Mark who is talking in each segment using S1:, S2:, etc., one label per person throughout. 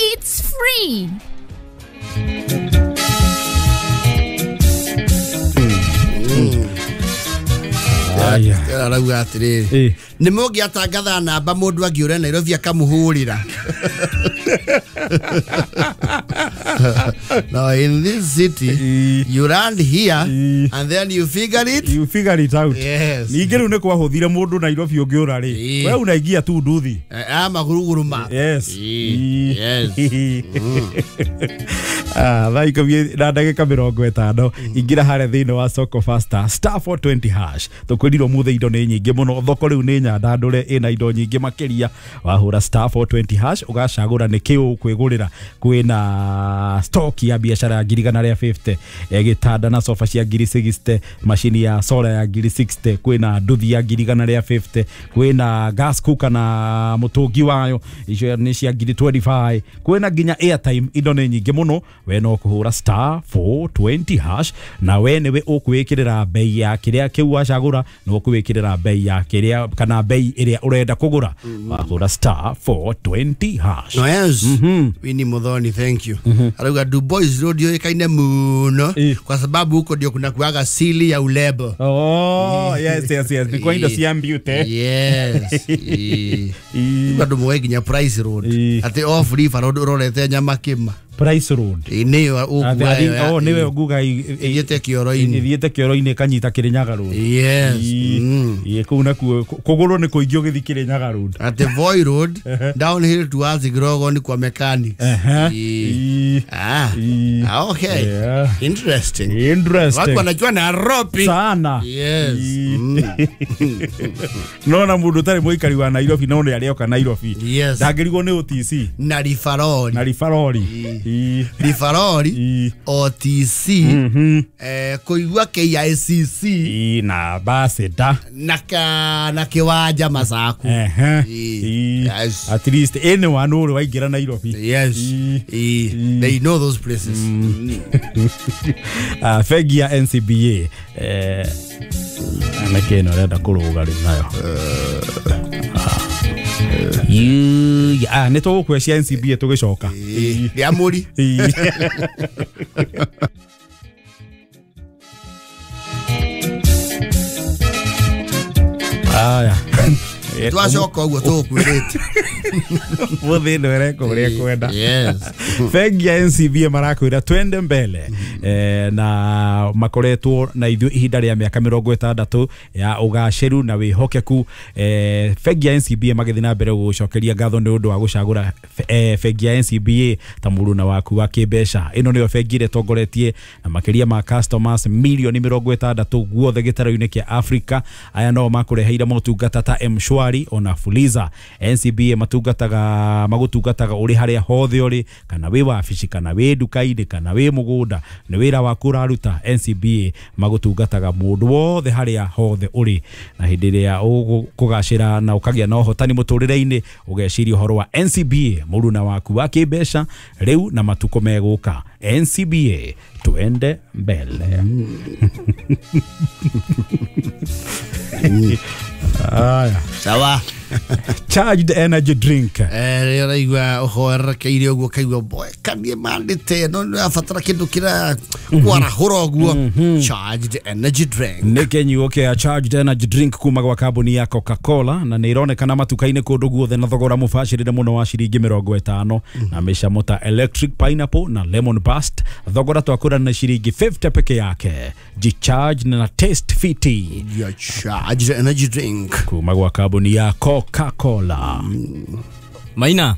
S1: It's free.
S2: Arauga atiriri ni mungiatangatha namba mundu angiura Nairobi akamuhurira. Now in this city you land here and then you figure it,
S3: you figure it out.
S2: Yes.
S3: Ningĩ rĩu nĩ kwahuthire mũndũ Nairobi ũngĩũra rĩ, we unaingia tu nduthi
S2: maguruguru ma.
S3: Yes.
S2: Yes.
S3: Thaa ikũmi na ndagĩka 50 ingĩra harĩa thĩinĩ wa Soko Faster star 420 hash. Tũkwĩrirwo mũthĩ indo nĩ nyingĩ mũno, thoko rĩu nĩ nyandandũre ĩna indo nyingĩ makĩria. Wahũra star 420 hash ũgacagũra nĩ kĩ ũkwĩgũrĩra. Kwĩna stock ya biacara ya 1,150, gĩtanda na sofa cia 1,060, macini ya solar ya 1,060, kwĩna nduthi ya 1,150, kwĩna gas cooker na mũtũngi wayo icio nĩ cia 1,025, kwĩna nginya airtime. Indo nĩ nyingĩ mũno, we no kũhũra star 420 hash na we nĩwe ũkwĩkĩrĩra bei ya kĩrĩa kĩu wacagũra, nĩ ũkwĩkĩrĩra bei ya kĩrĩa kana bei ĩrĩa ũrenda kũgũra. Wahũra star 420 hash.
S2: No, yes. Winnie Muthoni, thank you. Arauga Du Bois Road yoikaine muno kwa sababu huko ndio kuna kuaga sili ya ulebo.
S3: Oh, yes yes yes. Niko indo cia mbiute.
S2: Yes. Bado mwe nginya Price Road. Ati off river road urorete nyama kima.
S3: Price Road.
S2: Niyo
S3: oh niwe nguga
S2: ithiete kioro-inĩ.
S3: Ithiete kioro-inĩ kanyita Kirinyaga Road.
S2: Yes.
S3: Ĩ kũu nakuo kũgũrũ nĩ kũingĩ ũgĩthiĩ Kirinyaga Road.
S2: At Voi Road downhill towards Grogon kwa mechanics. Okay.
S3: Yeah.
S2: Interesting.
S3: Interesting.
S2: Watu wanajua Nairobi
S3: sana.
S2: Yes.
S3: Nona mundu tari muikari wa Nairobi no nĩ arĩoka Nairobi.
S2: Yes.
S3: Ndangĩrigwo nĩ OTC.
S2: Na Rifaroli.
S3: Na Rifaroli.
S2: Rifaroli OTC kuigua KICC
S3: na baseda
S2: na kiwanja Masaku.
S3: Yes. At least anyone uri waingira Nairobi.
S2: Yes. They know those places.
S3: Bengi ya NCBA nake no renda kuruga riu nayo. Nĩ tũgũkũhe cia NCBA tũgĩcoka.
S2: Rĩa mũri.
S3: Aya.
S2: Twacoka ũguo tũgũkwĩrĩte.
S3: Mũthĩ ĩno ĩreka ũrĩa kwenda.
S2: Yes.
S3: Bengi ya NCBA marakwĩra twende mbele na makoretwo na ithuĩ ihinda rĩa mĩaka 60 ya ũgacĩru na wĩhokeku. Bengi ya NCBA magĩthiĩ na mbere gũcokeria ngatho nĩ ũndũ wa gũcagũra bengi ya NCBA ta mũruna waku wa kĩmbeca. Ĩno nĩyo bengi ĩrĩa ĩtongoretie na makĩria ma customers milioni 60 guothe gĩtarũ-inĩ kĩa Afrika. Aya no makũreheire motungata ta M-Shwari ona Fuliza. NCBA matungataga magũtungataga ũrĩ harĩa hothe ũrĩ, kana wĩ wabici kana wĩ nduka-inĩ kana wĩ mũgũnda, nĩ wĩra waku ũraruta. NCBA magũtungataga mũndũ wothe harĩa hothe ũrĩ, na hĩndĩ ĩrĩa ũkũgacĩra na ũkagĩa na ũhotani mũtũrĩre-inĩ ũgeciria ũhoro wa NCBA mũruna waku wa kĩmbeca rĩu na matukũ megũka. NCBA tuende mbele. Aya.
S2: Sawa.
S3: Charged energy drink.
S2: Rĩraigua ũhoerekeire ũguo kaigua boy kanie mandĩte no nĩrabatara kĩndũ kĩra kwarahũra ũguo. Charged energy drink.
S3: Nĩ kĩnyuo kĩa Charged energy drink kuma gwa kambuni ya Coca-Cola na nĩ ironekana matuka-inĩ kũndũ guothe na thogora mũbacĩrĩre mũno wa ciringi 50 na mĩcamo ta electric pineapple na lemon burst. Thogora twakũra na ciringi 50 peke yake. G-Charge na taste fiti.
S2: Your Charged energy drink
S3: kuma gwa kambuni ya Coca-Cola.
S4: Maina.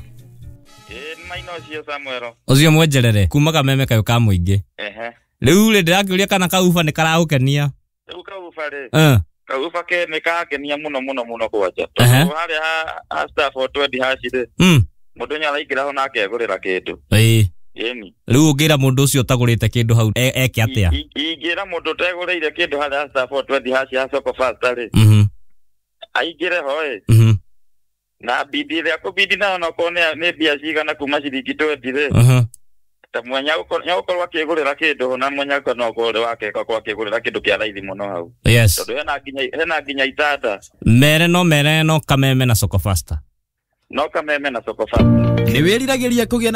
S5: Maina ucio Samuel.
S4: Ucio mwenjerere kuma kameme kayo ka muingi.
S5: Ehe.
S4: Riu ri ndirakiuria kana kauba ni karagukenia.
S5: Riu kauba ri. Kauba ke ni kangenia muno muno muno kwanja. Tondu haria ha star 420 hash ri. Mundu ni araingira ho na akegurira kindu.
S4: Ii.
S5: Ĩni.
S4: Riu ungira mundu ucio utagurite kindu hau eke atia?
S5: Ingira mundu utegurire kindu haria star 420 hash ya Soko Faster ri. Aingire ho ĩ. Na bidi ria kubidi na no kone nĩ mbia cigana kuma ciringi 20 rĩ. Ta mwenya ũkorwo akĩgũrĩra kĩndũ na mwenya no ũkorwo wake kwa akĩgũrĩra kĩndũ kĩa raithi mũno hau.
S4: Yes.
S5: Tondũ hena nginya itanda.
S4: Mere no kameme na Soko Faster.
S5: No kameme na Soko Faster.
S6: Nĩ wĩriragĩria kũgĩa na